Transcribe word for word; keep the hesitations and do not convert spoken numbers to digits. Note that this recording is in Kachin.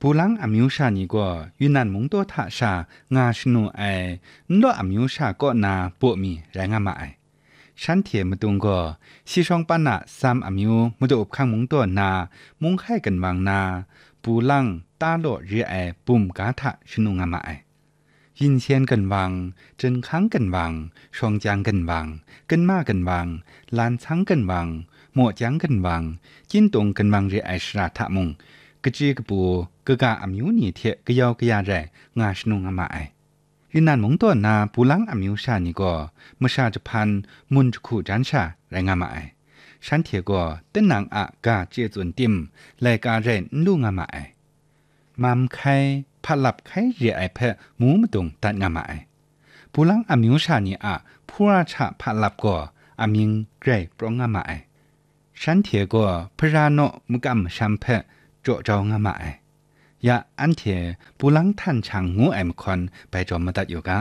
Bulang amyu sha ni gaw Yunnan mungdaw hta sha nga shanu ai Nlaw amyu sha kaw na baw mi rai nga ma ai. Shanhte matung gaw, si shawng pan a Sam amyu madu hpang mungdaw na Munghkai ginwang na Bulang ta law re ai bum ga hta shanu nga ma ai. Yinsen ginwang, Jinghkang ginwang, Shawngkyang ginwang, Ginma ginwang, Lansang ginwang, Mawjang ginwang, Kyintung ginwang re ai shara hta mung, kachyi kapu, kaga amyu ni hte kayau kaya rai nga shanu nga ma ai. Yunnan mungdaw na Bulang amyu sha ni gaw masha jahpan mun jahku jan sha rai nga ma ai. Shanhte gaw tinang a ga chye tsun tim, laika rai n lu nga ma ai. Mam hkai, hpatlap hkai re ai hpe mu madung dat nga ma ai. Bulang amyu sha ni a hpura hta hpatlap gaw amying grai prawng nga ma ai. Shanhte gaw hpara naw makam masham hpe jaw jau nga ma ai. Ya, anhte Bulang htan hkyang ngu ai mahkawn bai jawm madat yu ga.